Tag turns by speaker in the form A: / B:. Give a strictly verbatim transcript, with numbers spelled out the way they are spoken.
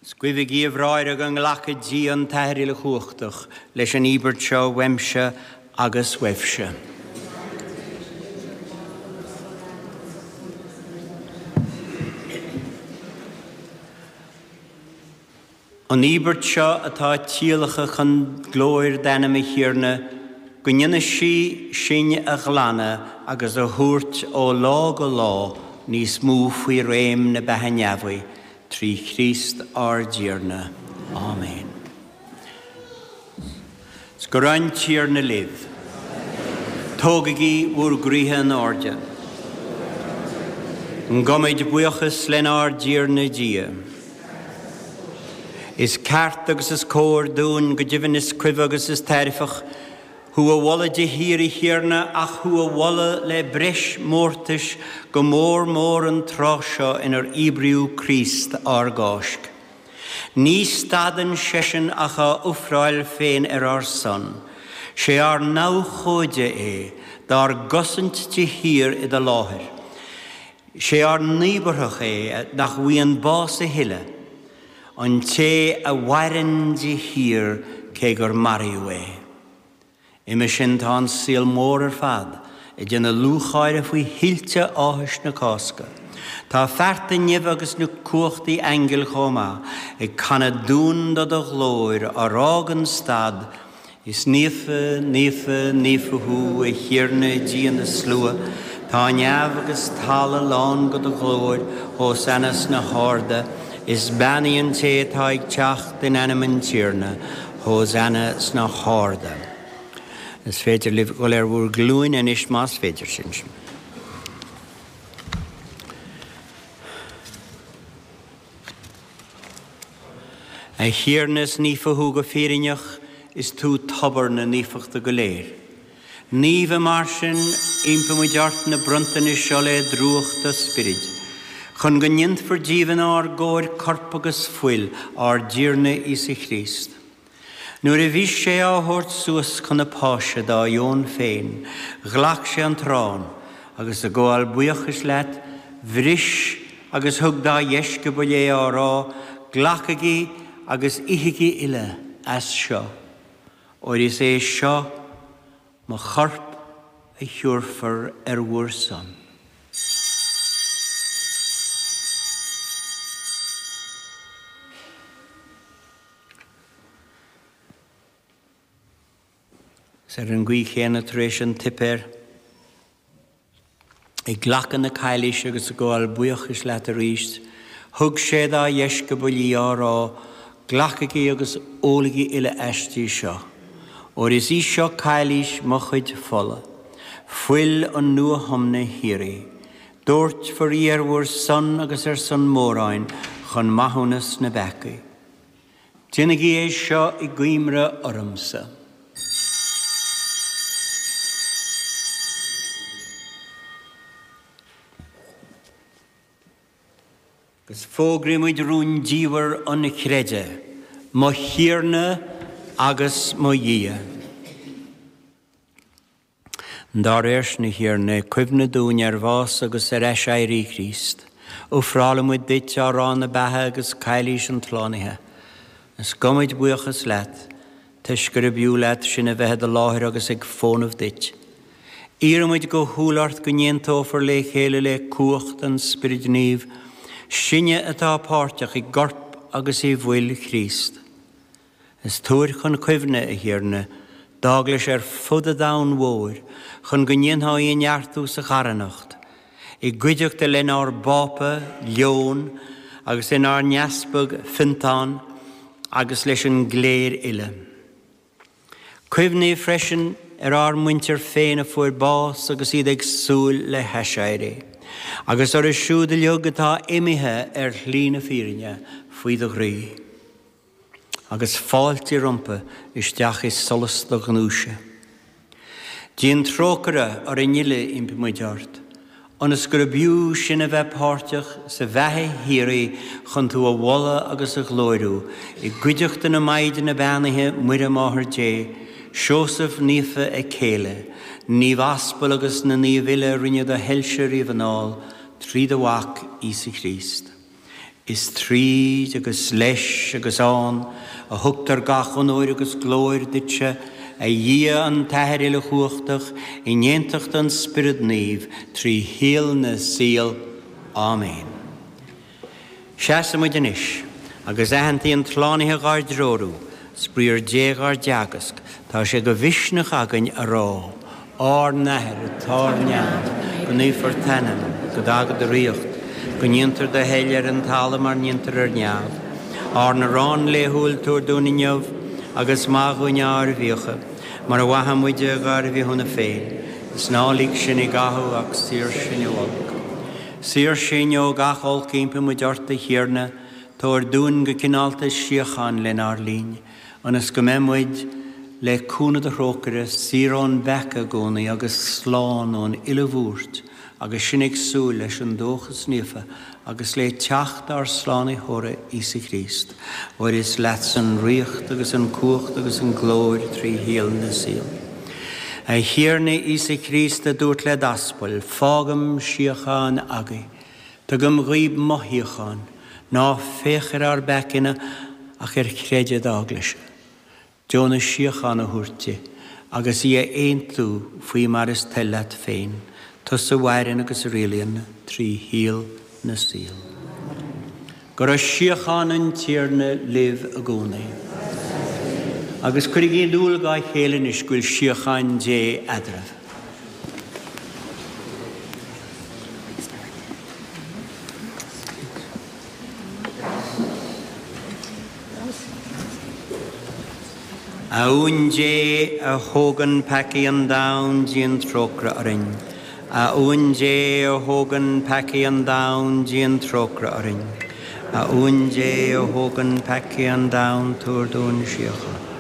A: Guibhigí a bhráithre go nglaca Dia an tAthair uilechumhachtach leis an íobairt seo uaimse agus uaibhse. An íobairt seo atá tíolactha chun glóir d'ainm a Thiarna, go ndéana sí sinn a ghlanadh agus a thabhairt ó lá go lá níos mó faoi réim na beatha neamhaí, trí Chríost ár dTiarna. Amen. 'S go raibh an Tiarna libh. Tógaigí bhur gcroíthe in airde. Gabhaimid buíochas lenár dTiarna Dia. Is ceart agus is cóir dúinn go deimhin is cuibhe agus is tairfeach, thú a mholadh de shíor a Thiarna ach thú a mholadh le breis mórtais go mór mór an tráth seo inar íobraíodh Críost ár gCáisc. Ní stadann seisean ach á ofráil féin ar ár son, sé ár n-abhcóide é dár gcosaint de shíor i do láthair. Sé ár n-íobartach é nach bhfaigheann bás a thuilleadh, an té a mhaireann de shíor cé gur maraíodh é. Uime sin tá an saol mór ar fad ag déanamh lúcháire faoi thuilte áthais na Cásca. Tá fearta neimhe agus na cumhachtaí aingil chomh maith ag canadh dún do do ghlóir á rá gan stad, Is naofa, naofa, naofa thú, a Thiarna Dia na slua, Tá neamh agus talamh lán de do ghlóir, Hosanna sna harda, Is beannaithe an té atá ag teacht in ainm an Tiarna, Hosanna sna harda. Is féidir libh dul ar bhur nglúine anois más féidir sin. A Thiarna is naofa thú go fírinneach, is tú tobar na naofachta go léir. Naofa mar sin impímid ort na bronntanais seo le drúcht do Spioraid, chun go ndéanfar díobh inár gcomhair corp agus fuil ár dTiarna Íosa Chríost. Nuair a bhí sé á thabhairt suas chun na páise dá dheoin féin, ghlac sé an t-arán, agus ag gabháil buíochais leat, bhris agus thug dá dheisceabail é á rá, Glacaigí agus ithigí uile as seo, óir is é seo mo chorp a thiúrfar ar bhur son. Is ar an gcaoi chéanna tar éis an tsuipéir, ag glacadh na cailíse agus ag gabháil buíochais leat arís, thug sé dá dheisceabail í á rá, Glacaigí agus ólaigí uile aisti seo, óir is í seo cailís mo chuid fola, fuil an nuathiomna shíoraí. Doirtfear í ar bhur son agus ar son móráin chun maithiúnas na bpeacaí. Déanaigí é seo i gcuimhne ormsa. Agus fógraímid rúndiamhair an chreidimh, mo Thiarna agus mo Dhia. Dá réir sin, a Thiarna, cuimhne dúinn ar bhás agus ar aiséirí Chríost, Ofrálaimid duit arán na beatha agus cailís an tslánaithe. Is gabhaimid buíochas leat, toisc gurb fhiú leat sinn a bheith i do láthair agus ag fónamh duit. Iarraimid go humhal ort go n-aontófar le chéile le cumhacht an Spioraid Naoimh, sinne atá páirteach i gcorp agus i bhfuil Chríost. Is tabhair chun cuimhne, a Thiarna, d'Eaglais ar fud an domhain mhóir, chun go ndéanfá í a neartú sa charthanacht, i gcuideachta lenár bPápa, Leon, agus lenár nEaspag, Fiontán, agus leis an gcléir uile. Cuimhnigh freisin ar ár muintir féin a fuair bás agus iad ag súil le haiséirí, agus orthu siúd uilig atá imithe ar shlí na fírinne faoi do ghroí, agus fáiltigh rompu isteach i solas do ghnúise. Déan trócaire orainn uile, impímid ort, ionas gurb fhiú sinn a bheith páirteach sa bheatha shíoraí chun tú a mholadh agus a ghlóiriú, i gcuideachta na Maighdine beannaithe Muire Máthair Dé, Seosamh Naofa a céile, Naomh Aspail agus na naoimh uile a rinne do shoilse riamh anall, trí do Mhac Íosa Críost. Is tríd agus leis agus ann a thugtar gach onóir agus glóir duitse, a Dhia an tAthair uilechumhachtach in aontacht an Spioraid Naoimh trí shaol na saol. Áiméan. Seasaimid anois, agus aitheantaí an tSlánaithe dhár dtreorú, 's briathar Dé dhár dteagasc, tá sé de mhisneach againn a rá, Ár nAthair atá ar neamh, go naofar t'ainm, go dtaga do ríocht, go ndéantar do thoil ar an talamh mar ndéantar ar neamh. Ár n-arán laethúil tabhair dúinn inniu, agus maith dhúinn ár bhfiacha, mar a mhaitheann muide dhár bhfithiúna féin, is ná lig sinn i gcathú ach saor sinn ó olc. Saor sinn ó gach olc impíonn muid ort a Thiarna, tabhair dúinn go cineálta síocháin lenár linn, ionas go mbeidh muid le cúnamh do thrócaire saor ón bpeaca i gcónaí agus slán ón uile bhuairt, agus sinn ag súil leis an dóchas naofa agus le teacht ár Slánaitheora Íosa Críost, óir is leatsa an ríocht agus an cumhacht agus an glóir trí shaol na saol. A Thiarna Íosa Críost a dúirt le d'aspail, fágaim síocháin agaibh, tugaim dhaoibh mo shíocháin, ná féach ar ár bpeacaí ach ar chreideamh d'eaglaise. Deonaigh síocháin a thabhairt di, agus í a aontú faoi mar is toil leat féin, tusa a mhaireann agus a rialaíonn trí shaol na saol. Go raibh síocháin an Tiarna libh i gcónaí. Agus cuirigí in iúl dá chéile anois go bhfuil síocháin Dé eadraibh. A Uain Dé a thógann peacaí an domhain, déan trócaire orainn. A Uain Dé a thógann peacaí an domhain, déan trócaire orainn. A Uain Dé a thógann peacaí an domhain, tabhair dúinn síocháin.